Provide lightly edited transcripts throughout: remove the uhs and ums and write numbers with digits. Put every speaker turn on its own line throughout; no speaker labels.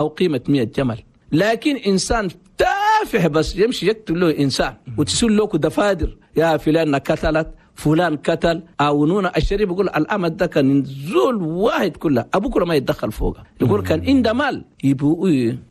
أو قيمة 100 جمل. لكن إنسان تافه بس يمشي يقتل له إنسان وتسول له دفادر، يا فلان قتلت، فلان قتل، عاونونا. الشريف يقول الأمد ده كان زول واحد كله أبوه كله ما يتدخل فوقه، يقول كان عنده مال يبقوا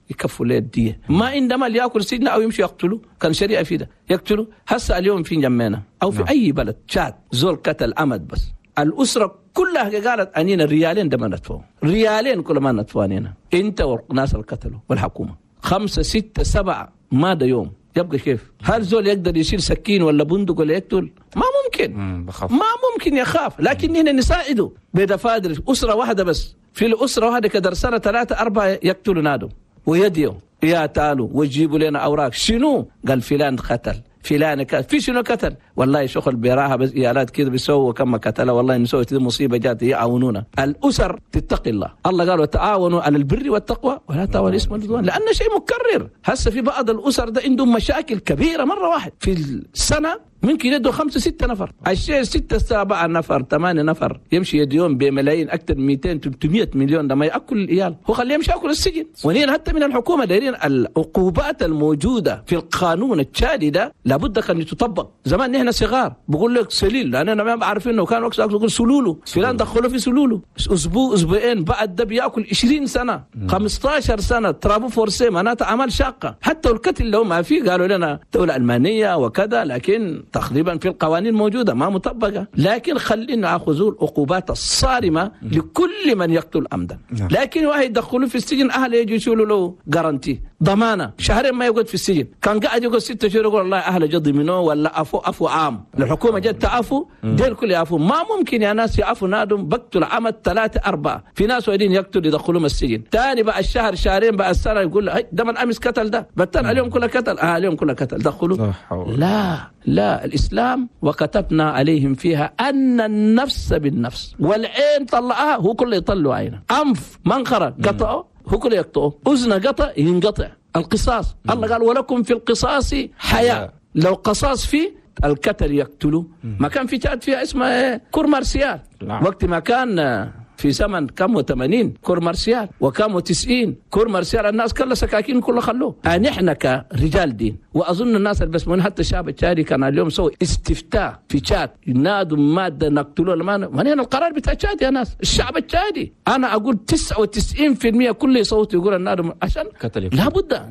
يكفوا له الدية، ما عنده مال ياكل سجنه أو يمشي يقتله، كان شريعة في ده يقتله. هسه اليوم في جمعنا أو في أي بلد شاد زول قتل أمد بس، الأسرة كلها قالت أنينا ريالين ده ما ندفعه، ريالين كل ما ندفعه أنينا، أنت والناس اللي قتلوا والحكومة 5 6 7 ما ده يوم يبقى كيف؟ هل زول يقدر يشيل سكين ولا بندق ولا يقتل؟ ما ممكن،
بخاف.
ما ممكن يخاف. لكن هنا نساعده بدفادر أسرة واحدة بس، في الأسرة واحدة كدر سنة 3 4 يقتلوا نادو ويديو يا تعالوا ويجيبوا لنا أوراق شنو؟ قال فلان قتل، فلان قتل، في شنو قتل؟ والله شغل براها بس إيالات كده بيسووا كما قتله، والله نسوي كده مصيبة جات يعاونونا. الأسر تتقي الله، الله قال وتعاونوا على البر والتقوى ولا تعاونوا الإثم والعدوان، لأنه شيء مكرر. هسه في بعض الأسر ده عندهم مشاكل كبيرة مرة واحد في السنة ممكن يدوا 5 6 نفر، الشيء 6 7 نفر 8 نفر يمشي يديهم بملايين أكثر من 200 300 مليون، ده ما يأكل الإيال، هو خليه يمشي يأكل السجن. ونين حتى من الحكومة دايرين العقوبات الموجودة في القانون التشادي ده لابد أن تطبق. زمان نحن صغار بقول لك سليل، لأننا ما عارفين إنه كان وقت يقول سلولو، فلان دخلوه في سلولو أسبوع أسبوعين بعد ده بيأكل 20 سنة 15 سنة travaux forcés، معناته أعمال شاقة. حتى القتل لو ما في قالوا لنا دولة ألمانية وكذا، لكن تقريبا في القوانين موجودة ما مطبقة. لكن خلينا نأخذ العقوبات الصارمة لكل من يقتل عمدا. لكن واحد يدخلوه في السجن أهله يجوا يشيلوا له garantie ضمانة شهرين ما يقعد في السجن، كان قاعد يقعد 6 شهور يقول والله أهله جد منه ولا أفو أفو عام، الحكومة جت تعفو ديل كل يعفو. ما ممكن يا ناس يعفو نادم بقتل عمد 3 4 في ناس وايدين يقتل يدخلوهم السجن، ثاني بقى الشهر شهرين بقى السنة يقول ده من أمس قتل ده بتن اليوم كله قتل، اليوم كله قتل دخلوا. لا لا، الإسلام وكتبنا عليهم فيها أن النفس بالنفس، والعين طلعها هو كله يطلع عينه، أنف منخرة قطعه هو كله يقطعه، أذن قطع ينقطع، القصاص. الله قال ولكم في القصاص حياة، لو قصاص فيه القتل يقتله. ما كان في تشاد فيها اسمه cour martiale، وقت ما كان في زمن كم 80 cour martiale وكم 90 cour martiale، الناس كلها سكاكين كلها خلوه. نحن كرجال دين، واظن الناس اللي بس من حتى الشعب التشادي كان اليوم سوى استفتاء في تشاد ينادوا ماده نقتلوه ما هنا القرار بتاع تشاد يا ناس، الشعب التشادي انا اقول 99% كل يصوت يقول النادم عشان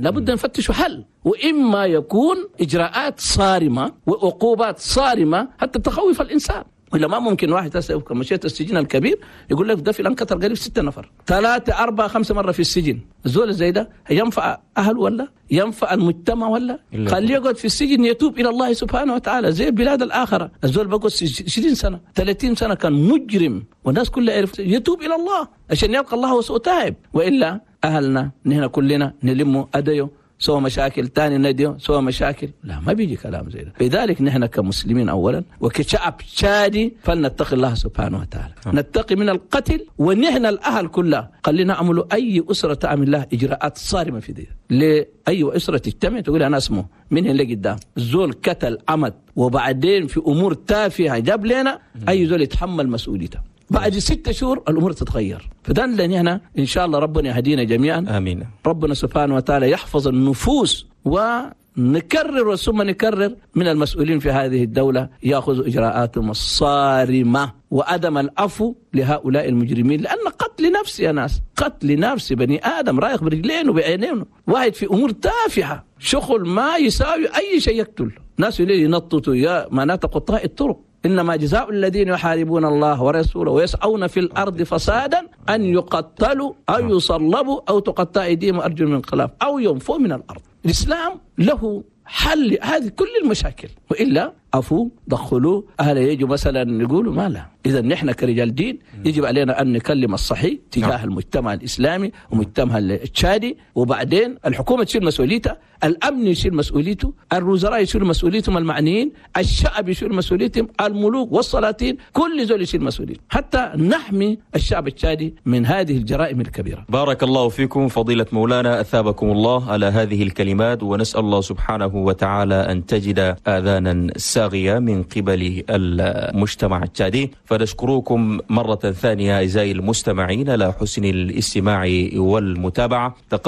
لابد نفتشوا حل، واما يكون اجراءات صارمه وعقوبات صارمه حتى تخوف الانسان. ولا ما ممكن واحد هسه مشيت السجن الكبير يقول لك ده فلان قتل قريب 6 نفر 3 4 5 مرة في السجن، الزول زي ده ينفع أهله ولا ينفع المجتمع ولا؟ خليه يقعد في السجن يتوب إلى الله سبحانه وتعالى زي البلاد الآخرة. الزول بقعد 20 سنة 30 سنة كان مجرم والناس كلها يعرف، يتوب إلى الله عشان يلقى الله وسوء تائب. وإلا أهلنا نحن كلنا نلموا أديو سوى مشاكل تاني نديو سوى مشاكل، لا ما بيجي كلام زي ده. لذلك نحن كمسلمين أولا وكشعب تشادي فلنتقي الله سبحانه وتعالى، نتقي من القتل، ونحن الأهل كلها خلينا نعملوا أي أسرة تعمل لها إجراءات صارمة في دي، لأي أسرة تجتمع تقول أنا اسمه من هنا لقدام زول قتل عمد وبعدين في أمور تافهة جاب لنا، أي زول يتحمل مسؤوليته. بعد 6 شهور الأمور تتغير. فده لأن هنا إن شاء الله ربنا يهدينا جميعا،
آمين.
ربنا سبحانه وتعالى يحفظ النفوس، ونكرر ثم نكرر من المسؤولين في هذه الدولة يأخذوا إجراءاتهم الصارمة وعدم العفو لهؤلاء المجرمين، لأن قتل نفس يا ناس، قتل نفس بني آدم رايح برجلين وبعينين، واحد في أمور تافهة شغل ما يساوي أي شيء يقتل ناس ينططوا يا معناته قطاع الطرق. إنما جزاء الذين يحاربون الله ورسوله ويسعون في الأرض فسادا أن يقتلوا أو يصلبوا أو تقطع أيديهم وأرجلهم من خلاف أو ينفوا من الأرض. الإسلام له حل هذه كل المشاكل، وإلا عفو دخلوا أهل يجوا مثلا يقولوا ما لا. إذا نحن كرجال دين يجب علينا أن نكلم الصحيح تجاه المجتمع الإسلامي ومجتمع التشادي، وبعدين الحكومة تشيل مسؤوليتها، الأمن يشيل مسؤوليته، الوزراء يشيلوا مسؤوليتهم المعنيين، الشعب يشيل مسؤوليتهم، الملوك والسلاطين كل زول يشيل مسؤوليته حتى نحمي الشعب التشادي من هذه الجرائم الكبيرة.
بارك الله فيكم فضيلة مولانا، أثابكم الله على هذه الكلمات، ونسأل الله سبحانه وتعالى أن تجد آذانا ساغية من قبل المجتمع التشادي. فنشكركم مرة ثانية أعزائي المستمعين على حسن الاستماع والمتابعة. تقبل